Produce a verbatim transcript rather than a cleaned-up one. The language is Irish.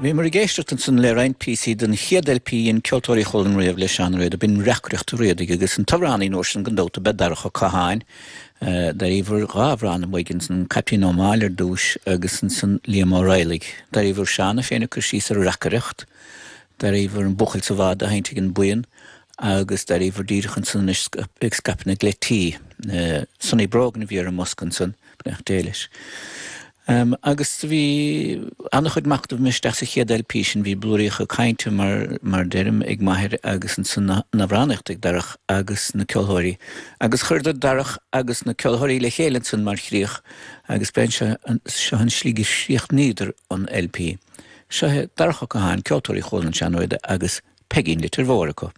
Bhíomar ag éisteacht ansan le roinnt píosaí den chéad LP an Ceoltóirí Chualann riamh le Seán Ó Riada, b'in Reacaireacht an Riadaigh agus an t-amhránaí an uair sin gan dabht ab ea Darach Ó Catháin. D'airíomar dhá amhrán uaidh ansan, Caiptín Ó Máille ar dtús agus ansan Liam Ó Raghallaigh. D'airíomar Seán é féin ag cur síos ar reacaireacht, d'airíomar an Buachaill sa Bhád á sheinnt ag an mbuíon agus d'airíomar díreach ansan anois ag scaipeadh na gcleití. Sonny Brogan a bhí ar an mbosca ansan, beannacht Dé leis. Um, agus bhí an-chuid machnaimh isteach sa chéad LP sin bhí blúiríocha cainte mar, mar deirim ag m'athair agus ansan na, na hamhránaíocht ag Darach agus na ceoltóirí. Agus chuireadar Darach agus na ceoltóirí le chéile ansan mar chríoch agus b'in seo, seo an slí gur chríochnaíodar an LP. Seo Darach Ó Catháin, Ceoltóirí Chualann Seán Ó Riada agus Peigín Leitir Mhóir acu.